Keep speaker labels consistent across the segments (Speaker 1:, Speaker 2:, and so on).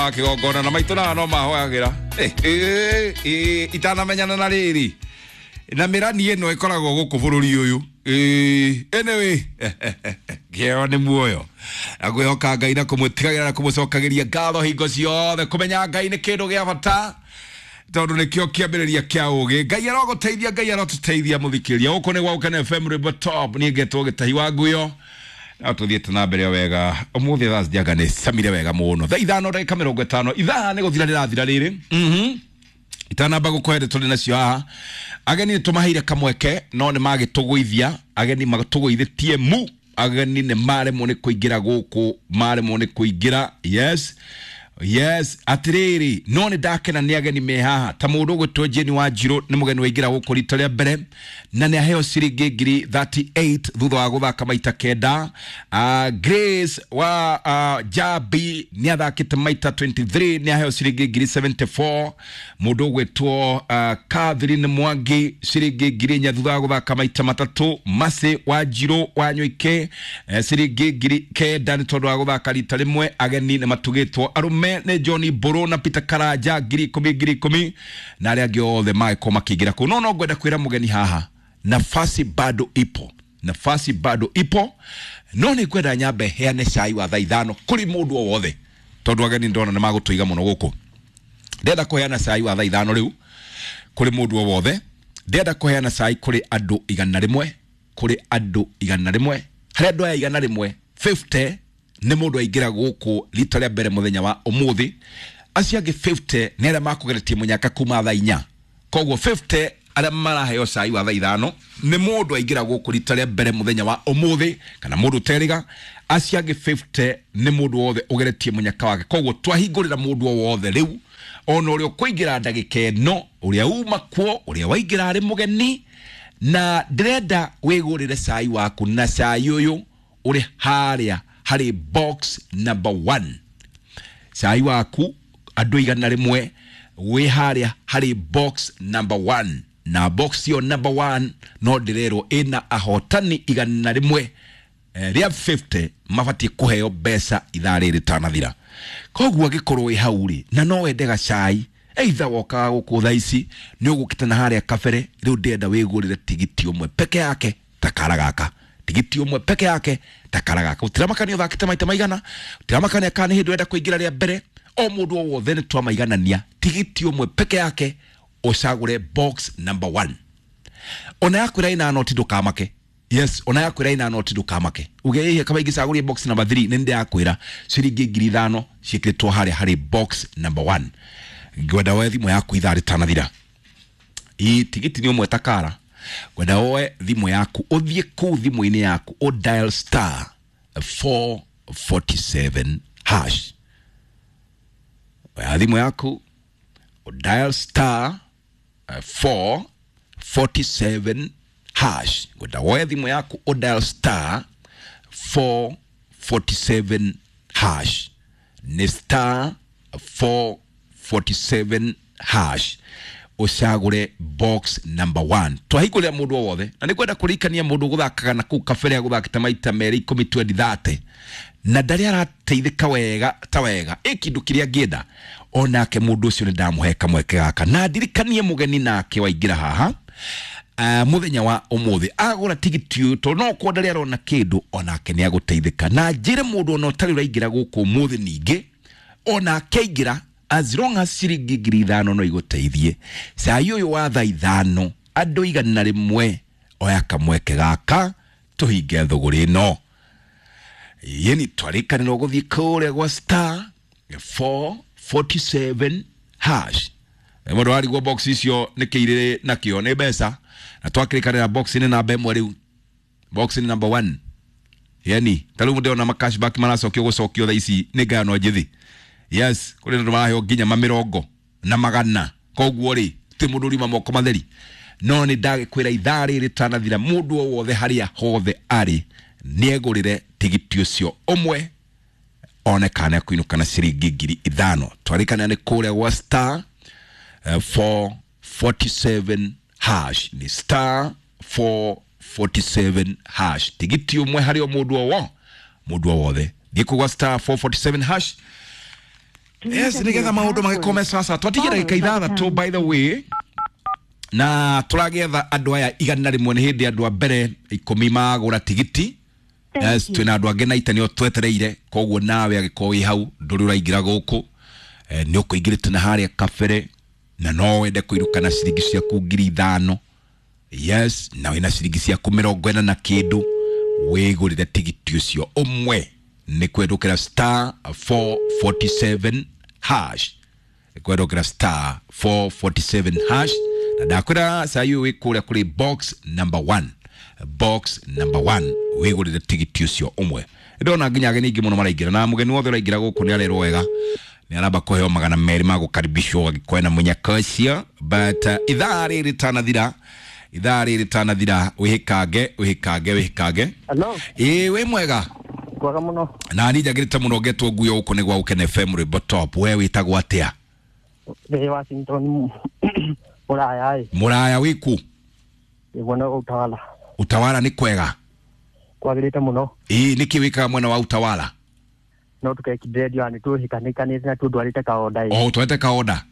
Speaker 1: wa kĩgongona na maitũ na no mahoyagĩra. Itanamenyana na rĩrĩ na mĩrani ĩno ĩkoragwo gũkũ bũrũri ũyũ. Anyway, kĩo nĩ muoyo na kwĩhoka Ngai na kũmũtigagĩra na kũmũcokagĩria ngatho hingo ciothe. Kũmenya Ngai nĩ kĩndũ gĩa bata tondũ nĩkĩo kĩambĩrĩria kĩa ũgĩ. Ngai arogũteithia, Ngai arotũteithia mũthikĩria. Gũkũ nĩ gwa Gũkena FM Rwĩmbo Top, niĩ ngetwo Gĩtahi wa Nguyo. No tũthiĩte na mbere wega ũmũthĩ thaa cianga nĩ camire wega mũno. Thaa 5:50 ithaa nĩ gũthira rĩrathira rĩrĩ. Itanamba gũkũhe ndeto tũrĩ nacio haha, ageni nĩ tũmaheire kamweke no nĩ magĩtũgũithia. Ageni matũgũithĩtie mu, ageni nĩ maremwo nĩ kũingĩra gũkũ, maremwo nĩ kũingĩra. Yes, yes, atirĩrĩ, no nĩ ndakena nĩ ageni me haha. Ta mũndũ ũgwĩtwo Jane Wanjirũ nĩ mũgeni waingĩra gũkũ rita rĩa mbere na nĩ aheo ciringi ngiri 38 thutha wa gũthaka maita 9. Grace wa Jabi nĩ athakĩte maita 23 nĩ aheo ciringi ngiri 74. Mũndũ ũgwĩtwo Catherine Mwangi ciringi ngiri 4 thutha wa gũthaka maita 3. Mercy Wanjirũ wa Nyoike ciringi ngiri 9 nĩ tondũ wa gũthaka rita rĩmwe. Ageni nĩ matugĩtwo arũme nĩ John Mbũrũ na Peter Karanja ngiri 10 ngiri 10 na arĩa angĩ othe magĩkorwo makĩingĩra kũu. No ngwenda kwĩra mũgeni haha, nafasi bado ipo, nafasi bado ipo, no nĩ ngwenda nyambe heane cai wa thaa 5 kũrĩ mũndũ o wothe tondũ ageni ndona nĩ magũtũiga mũno gũkũ. Ndĩrenda kũheana cai wa thaa 5 rĩu kũrĩ mũndũ o wothe. Ndĩrenda kũheana cai kũrĩ andũ 100, kũrĩ andũ 100. Harĩ andũ aya 100, 50 nĩ mũndũ aingĩra gũkũ rita rĩa mbere mũthenya wa ũmũthĩ. Acio angĩ 50 nĩ arĩa makũgeretie mũnyaka kuma thaa 4. Koguo 50 arĩa maraheo cai wa thaa 5 nĩ mũndũ aingĩra gũkũ rita rĩa mbere mũthenya wa ũmũthĩ kana mũndũ ũterĩga. Acio angĩ 50 nĩ mũndũ wothe ũgeretie mũnyaka wake. Koguo twahingũrĩra mũndũ o wothe rĩu, ona ũrĩa ũkũingĩra ndagĩka ĩno, ũrĩa uma kuo, ũrĩa waingĩra arĩ mũgeni, na ndĩrenda wĩgũrĩre cai waku, na cai ũyũ ũrĩ harĩa harĩ box number 1. Cai waku andũ 100 wĩ harĩa harĩ box number 1, na box ĩyo number 1 no ndĩrerwo ĩna ahotani 100 rĩa 50 mabatiĩ kũheo mbeca ithaa rĩrĩ rĩtanathira. Koguo angĩkorwo wĩ hau rĩ na no wende gacai, either wokaga gũkũ thaa ici nĩ ũgũkĩte na harĩa kabere, rĩu ndĩrenda wĩgũrĩre tigiti ũmwe peke yake ta kara gaka, tigiti ũmwe peke yake ta kara gaka. Gũtiramakania ũthakĩte maita maigana, gũtiramakania kana nĩ hĩndĩ ũrenda kũingĩra rĩa mbere, o mũndũ o wothe nĩ twamaiganania tigiti ũmwe peke yake ũcagũre box number 1. Ona yakwĩra ĩna noti ndũkamake. Yes, ona yakwĩra ĩna noti ndũkamake. Uge ĩhe kaba ingĩcagũria box number 3 nĩ ndĩrakwĩra ciringi ngiri 5 ciĩkĩrĩtwo harĩa harĩ box number 1. Ngwenda woe thimũ yaku ithaa rĩtanathira. Ĩ tigiti nĩ ũmwe ta kara. Ngwenda woe thimũ yaku ũthiĩ kũu thimũ-inĩ yaku ũ dial star 447 hash. Oya thimũ yaku ũ dial star 447 hash. Ngwenda woe thimũ yaku ũ dial star 447 hash. Nĩ star 447 hash ũcagũre box number 1. Twahingũrĩra mũndũ o wothe, na nĩ ngwenda kũririkania mũndũ ũgũthakaga na kũu kabere agũthakĩte maita 2 10 20 30 na ndarĩ arateithĩka wega ta wega ĩ kĩndũ kĩrĩa angĩenda, onake mũndũ ũcio nĩ ndamũhe kamweke gaka. Na ndirikanie mũgeni nake waingĩra haha mũthenya wa ũmũthĩ agũra tigiti ũyũ, tondũ no kwa ndarĩ arona kĩndũ, onake nĩ agũteithĩka. Na njĩre mũndũ ona ũtarĩ ũraingĩra gũkũ ũmũthĩ ningĩ, onake aingĩra as long as ciringi ngiri 5 no igũteithie. Cai ũyũ wa thaa 5 andũ 100 oya kamweke gaka tũhinge thũgũrĩ ĩno. Yeni twarĩkanĩrwo gũthiĩ kũrĩa gwa star 447 hash. Mũndũ arigwo box icio nĩ kĩirĩ nakĩo nĩ mbeca, na twakĩrĩkanĩra box nĩ namba 1 rĩu, box nĩ number 1. Yani ta rĩu ndĩrona ma cashback maracokio gũcokio thaa ici nĩ ngayano njĩthĩ. Yes, kũrĩ andũ maraheo nginya mamĩrongo na magana. Koguo rĩ ti mũndũ ũrima moko matheri. No nĩ ndagĩkwĩra ithaa rĩrĩ rĩtanathira mũndũ o wothe harĩa hothe arĩ nĩegũrĩre tigiti ũcio ũmwe one kana ekũinũka na ciringi ngiri 5. Twarĩkanĩra nĩ kũrĩa gwa star 447 hash. Ni star 447 hash. Tigiti ũmwe harĩ o mũndũ o wothe. Thiĩ kũu gwa star 447 hash. Yes, nigetha maundu magikome sasa. Twatigie ndagika ithathatũ, by the way, na tũragetha andũ aya 100. Nĩ hĩndĩ andũ a mbere 10 magũra tigiti. Yes, twĩna andũ angĩ na ita nĩo twetereire. Koguo nawe angĩkorwo wĩ hau ndũrĩ ũraingĩra gũkũ, nĩ ũkũingĩrĩte na harĩa kabere na no wende kũinũka na ciringi ciaku 5,000, yes, na wĩna ciringi ciaku 40 na kĩndũ, wĩgũrĩre tigiti ũcio ũmwe. Nĩ kwendũkĩra star 447 hash, kwendũkĩra star 447 hash. Na ndakwĩra cai ũyũ wĩ kũrĩa kũrĩ box number 1, box number 1, wĩgũrĩre tigiti ũcio ũmwe. Ndona nginya ageni aingĩ mũno maraingĩra, na mũgeni wothe ũraingĩra gũkũ nĩ arerwo wega nĩ aramba kũheo 200 ma gũkaribishwo agĩkorwo na mũnyaka ũcio. But ithaa rĩrĩ rĩtanathira, ithaa rĩrĩ rĩtanathira, wĩhĩkange, wĩhĩkange, wĩhĩkange.
Speaker 2: Hello.
Speaker 1: Ĩĩ, wĩ mwega?
Speaker 2: Kwaga mũno.
Speaker 1: Na ni njagĩrĩte mũno ngetwo nguo gũkũ nĩ gwa Gũkena FM rwĩmbo top. We wĩtagwo atĩa?
Speaker 2: Ndĩ Washington Mũraya ĩ.
Speaker 1: Mũraya wĩkũ?
Speaker 2: Nĩguo no Utawala.
Speaker 1: Utawala nĩ kwega?
Speaker 2: Kwagĩrĩte mũno.
Speaker 1: Ĩĩ, nĩkĩ wĩkaga mwena wa Utawala?
Speaker 2: No tũkekire nĩ tũhikanĩkanĩte na tũndwarĩte kaonda ĩ.
Speaker 1: O ũtwarĩte kaonda?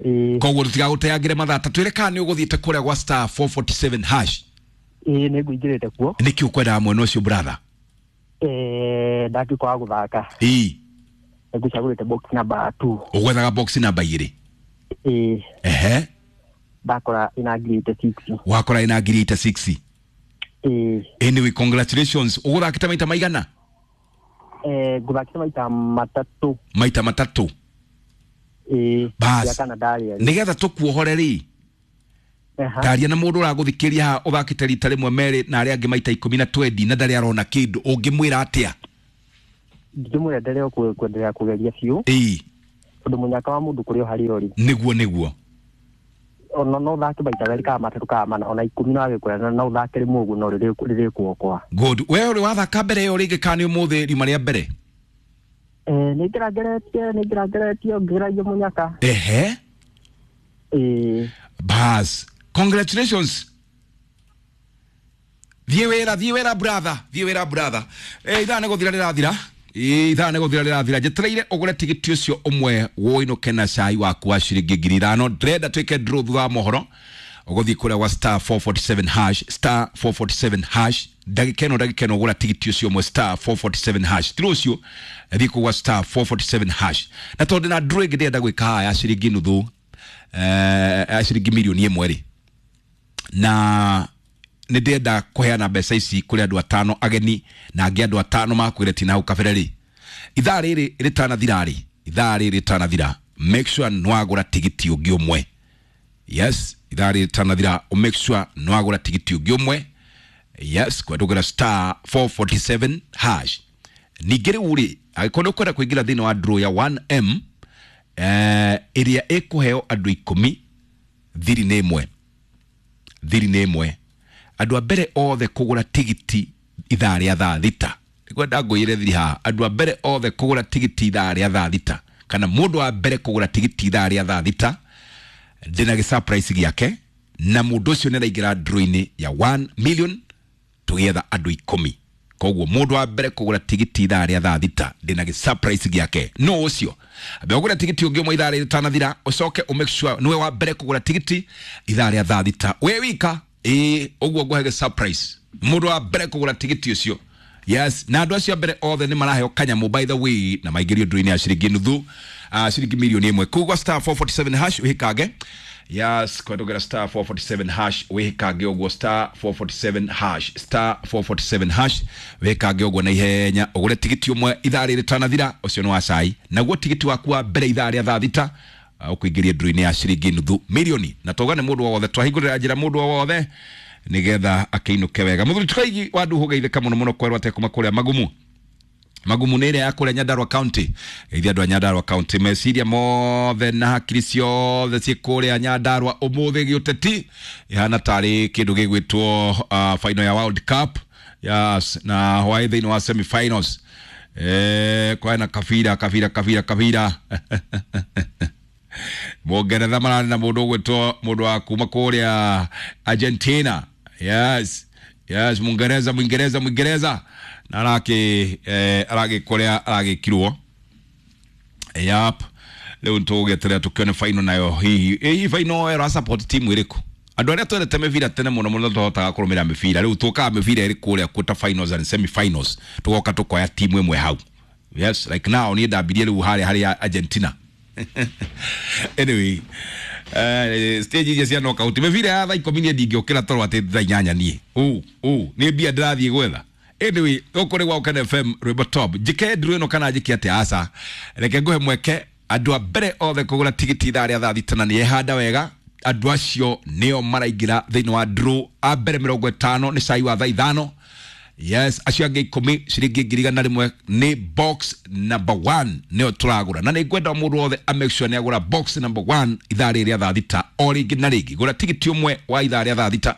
Speaker 2: Ĩĩ.
Speaker 1: Koguo tũtigagũteangĩre mathaa, ta twĩre kana nĩ ũgũthiĩte kũrĩa gwa star 447 hash.
Speaker 2: Ĩĩ, nĩ ngũingĩrĩte kuo.
Speaker 1: Nĩkĩ ũkwendaga mwena ũcio, brother?
Speaker 2: Ndatuĩka wa gũthaka.
Speaker 1: Ĩĩ.
Speaker 2: Ngũcagũrĩte box number 2.
Speaker 1: Ũgwethaga box namba 2?
Speaker 2: Ĩĩ.
Speaker 1: Ehe.
Speaker 2: Ndakora ĩna 86,000.
Speaker 1: Wakora ĩna 86,000?
Speaker 2: Ĩĩ.
Speaker 1: Anyway, congratulations. Ũgũthakĩte maita maigana?
Speaker 2: Ngũthakĩte maita matatũ.
Speaker 1: Maita matatũ?
Speaker 2: Ĩĩ.
Speaker 1: Bas.
Speaker 2: Rĩa kana ndarĩa.
Speaker 1: Nĩgetha tũkuohore rĩ, taria na mũndũ ũragũthikĩria haha ũthakĩte rita rĩmwe merĩ na arĩa angĩ maita 10 na 20 na ndarĩ arona kĩndũ, ũngĩmwĩra atĩa?
Speaker 2: Ndingĩmwĩra endelee kwendelea kũgeria biũ.
Speaker 1: Ĩĩ.
Speaker 2: Tondũ mũnyaka wa mũndũ kũrĩ o harĩa ũrĩ.
Speaker 1: Nĩguo, nĩguo.
Speaker 2: Ona no ũthake maita merĩ kana matatũ kana mana ona 10 no agĩkwĩra no ũthake rĩmwe ũguo no rĩrĩkuokoa.
Speaker 1: Good. We ũrĩ wathaka mbere ĩyo rĩngĩ kana nĩ ũmũthĩ riuma rĩa mbere?
Speaker 2: Nĩ ngĩrangeretie, nĩ ngĩrangeretie ngĩgeragia mũnyaka.
Speaker 1: Ehe.
Speaker 2: Ĩĩ.
Speaker 1: Bas, congratulations. Thiĩ wĩra, thiĩ wĩra brother, thiĩ wĩra brother. Ithaa nĩ gũthira rĩrathira. Ithaa nĩ gũthira rĩrathira. Njetereire ũgũre tigiti ũcio ũmwe wũinũke na cai waku wa ciringi 5,000. Ndĩrenda twĩke draw thutha wa mohoro. Ũgũthiĩ kũrĩa gwa star 447 hash, star 447 hash. Ndagĩka ĩno, ndagĩka ĩno ũgũra tigiti ũcio ũmwe star 447 hash. Ti rũciũ, thiĩ kũu gwa star 447 hash. Na tondũ ndĩna draw ĩngĩ ndĩrenda gwĩka haha ya ciringi nuthu, ya ciringi 1 million rĩ, na nĩ ndĩrenda kũheana mbeca ici kũrĩ andũ atano ageni na angĩ andũ atano makwĩre tina hau kabere rĩ, ithaa rĩrĩ rĩtanathira rĩ, ithaa rĩrĩ rĩtanathira, make sure nĩwagũra tigiti ũngĩ ũmwe. Yes, ithaa rĩrĩ rĩtanathira, make sure nĩwagũra tigiti ũngĩ ũmwe. Yes, kwendũgĩra star 447 hash. Ningĩ rĩu rĩ, angĩkorwo nĩ ũkwenda kũingĩra thĩinĩ wa draw ya 1M, ĩrĩa ĩkũheo andũ 10, thiri nĩ ĩmwe, thiri nĩ ĩmwe. Andũ a mbere othe kũgũra tigiti ithaa rĩa thaa thita, nĩkwenda ngũire thiri haha, andũ a mbere othe kũgũra tigiti ithaa rĩa thaa thita, kana mũndũ wa mbere kũgũra tigiti ithaa rĩa thaa thita, ndĩna gĩ surprise gĩake, na mũndũ ũcio nĩ araingĩra draw-inĩ ya 1 million tũgĩetha andũ 10. Koguo mũndũ wa mbere kũgũra tigiti ithaa rĩa thaa thita, ndĩna gĩ surprise gĩake. No ũcio ambe ũgũre tigiti ũngĩ ũmwe ithaa rĩrĩ rĩtanathira, ũcoke ũ make sure nĩwe wa mbere kũgũra tigiti ithaa rĩa thaa thita wĩ wika. Ĩĩ, ũguo ngũhe gĩ surprise mũndũ wa mbere kũgũra tigiti ũcio. Yes, na andũ acio a mbere othe nĩ maraheo kanyamũ, by the way, na maingĩrio ndũinĩ ya ciringi nuthu, ciringi 1 million. Kũu star 447 hash wĩhĩkange. Yes, kwendogera star 447 hash wĩhĩkange ũguo, star 447 hash, star 447 hash wĩhĩkange ũguo na ihenya ũgũre tigiti ũmwe ithaa rĩrĩ rĩtanathira. Ũcio nĩ wa cai. Naguo tigiti waku wa mbere ithaa rĩa thaa thita ũkũingĩria ndũrũ-inĩ ya ciringi 0.5 mirioni. Na tauga nĩ mũndũ o wothe, twahingũrĩra njĩra mũndũ o wothe nigetha akĩinũke wega. Mũthuri Tukaigi wa Nduhu geithĩka mũno mũno kwerwo atekuma kũrĩa Magumu. Magumu nĩ ĩrĩa ya kũrĩa Nyandarua County. Geithia andũ a Nyandarua County, meciria mothe na hakiri ciothe ciĩ kũrĩa Nyandarua ũmũthĩ. Gĩũteti ihana tarĩ kĩndũ gĩgwĩtwo final ya World Cup. Yes, na hwaĩ thĩinĩ wa semi-finals, kwena kabira kabira kabira kabira. Mũngeretha mararĩ na mũndũ ũgwĩtwo mũndũ wa kuma kũrĩa Argentina. Yes, Mũngereza, Mwingereza, Mwingereza na aragĩ kũrĩa aragĩkirwo. Yap. Rĩu tũgũgĩeterera tũkĩone final nayo hihi. Ĩ final ĩra support team ĩrĩkũ? Andũ arĩa twendete mĩbira tene mũno mũno tũhotaga kũrũmĩrĩra mĩbira. Rĩu tũkaga mĩbira ĩrĩ kũrĩa quarter finals and semi finals, tũgoka tũkoya timu ĩmwe hau. Yes, like now niĩ ndambirie rĩu harĩa harĩa Argentina. Anyway, stage iria cia knockout, mĩbira ya thaa 10 niĩ ndingĩũkĩra toro atĩ thaa 8 niĩ ũ ũ nĩ mbia ndĩrathiĩ gwetha. Anyway, gũkũ nĩ gwa Ũkene FM, rwĩmbo top. Njĩke nduru ĩno kana njĩke atĩa? Aca, reke ngũhe mweke. Andũ a mbere othe kũgũra tigiti ithaa rĩa thaa 6 na nĩ ehanda wega, andũ acio nĩo maraingĩra thĩinĩ wa draw. A mbere 50 nĩ cai wa thaa 5. Yes, acio angĩ 10 ciringi 100,000. Nĩ box number 1 nĩyo tũragũra, na nĩ ngwenda mũndũ wothe a make sure nĩ agũra box number 1 ithaa rĩrĩ rĩa thaa 6. O rĩngĩ na rĩngĩ, gũra tigiti ũmwe wa ithaa rĩa thaa 6,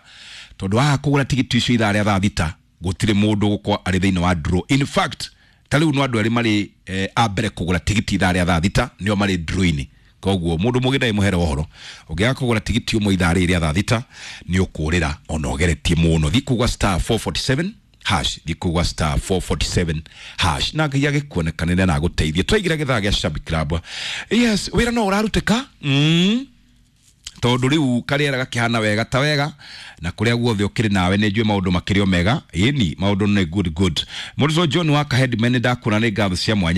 Speaker 1: tondũ waga kũgũra tigiti icio ithaa rĩa thaa 6, gũtirĩ mũndũ gũkorwo arĩ thĩinĩ wa draw. In fact, ta rĩu no andũ erĩ marĩ a mbere kũgũra tigiti ithaa rĩa thaa 6 nĩo marĩ draw-inĩ. Koguo mũndũ mũgĩ ndagĩmũhere ũhoro, ũngĩaga kũgũra tigiti ũmwe ithaa rĩrĩ rĩa thaa 6, nĩ ũkũrĩra ona ũgeretie mũno. Thiĩ kũgwa *447#, thiĩ kũgwa *447# na Ngai agĩkuonekanĩre na agũteithie. Twaigĩra gĩthaa gĩa Shabik Club. Yes, wĩra no ũrarutĩka, tondũ rĩu karĩera gakĩhana wega ta wega, na kũrĩa guothe ũkĩrĩ nawe nĩ njũĩ maũndũ makĩrĩ o mega. Ĩni, maũndũ nĩ good good. Mũrutwo John wa Kahedman, nĩ ndakuona, nĩ ngatho cia mwanya.